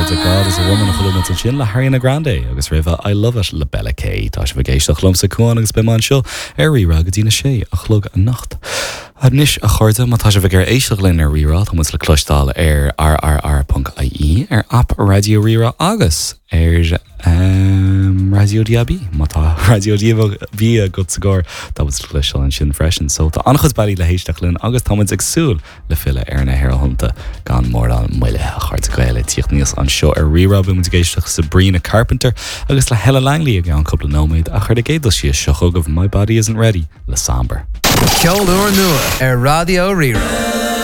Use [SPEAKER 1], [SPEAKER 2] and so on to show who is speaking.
[SPEAKER 1] chairde God is a Woman a chuala muid ansin le hAriana Grande agus roimhe I Love It le Bella K. Tá sibh ag éisteacht liomsa Cuán agus beidh mé anseo ar Rí-Rá go dtí na sé a chlog anocht. Anois a chairde, má tá sibh ag iarraidh éisteacht linn ar Rí-Rá, tá muid le cloisteáil ar rrr.ie, ar aip Raidió Rí-Rá agus ar Raidió DAB. Má tá Raidió DAB agat sa gcarr, tá muid le cloisteáil ansin freisin. So tá an-chuid bealaí le héisteacht linn agus tá muid ag súil le filleadh ar na haerthonnta gan mórán moille. A chairde Gael ag tíocht aníos anseo ar Rí-Rá, beidh muid ag éisteacht le Sabrina Carpenter agus le Helen Langley i gceann cúpla nóiméad ach ar an gcéad dul síos seo chugaibh My Body Isn't Ready le Samber.
[SPEAKER 2] Ceol úrnua ar Raidió Rí-Rá.